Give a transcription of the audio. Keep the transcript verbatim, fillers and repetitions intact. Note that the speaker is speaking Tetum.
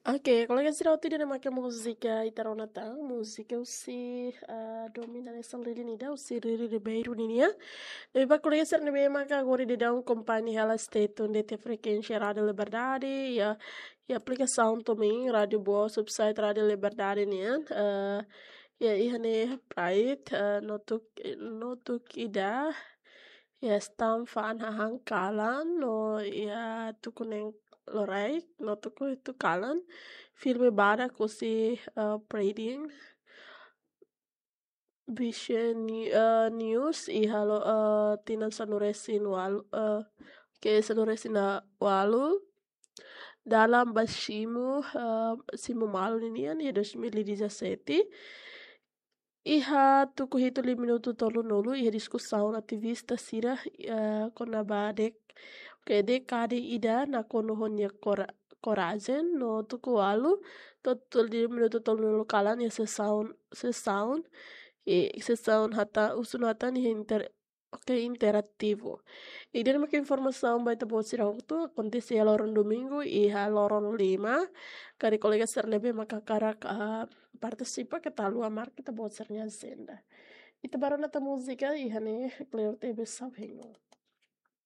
Oke, kolega sira, hotu ida-ne'e mak múzika ita rona tan, múzika husi, ah, Domina Nessa Lili nida, husi Riri Ribeiro ninia. Ne'ebé ba kolega sira ne'ebé maka agora daudaun akompaña hela stay tune de'it iha frekuénsia Rádio Liberdade, iha, iha aplikasaun tomin Rádio Boa, subsite Rádio Liberdade nian. Ah, iha, iha ne'e Pride, ah, Notuk, Notuk Ida, iha Stamford hahán kalan, no iha tuku neen loraik, no tuku hitu kalan. Filme badak husi, eh, Pride nian. Vision Ni-, eh, News iha lo-, eh, tinan sanulu-resin-ualu, eh, ke sanulu-resin-ualu. Dalan ba Simu, eh, Simu Malu ninian iha dois mil e dezassete. Iha tuku hitu liu minutu tolunulu, iha diskusaun ativista sira, eh, kona-ba dek-, ke dékada ida nakonu ho nia kora-, korajen, no tuku ualu to'o liu minutu tolunulu kalan iha sesaun, sesaun, i sesaun hata-, husu no hatan iha inter-, oke, interativu. Ida-ne'e mak informasaun ba ita-boot sira hotu, akontese iha loron domingu, iha loron lima. Karik kolega sira ne'ebé maka hakarak, ah, partisipa, keta haluha marka ita-boot sira-nia ajenda. Ita bá rona tan múzika, iha ne'e Cleo T V Sauhengo.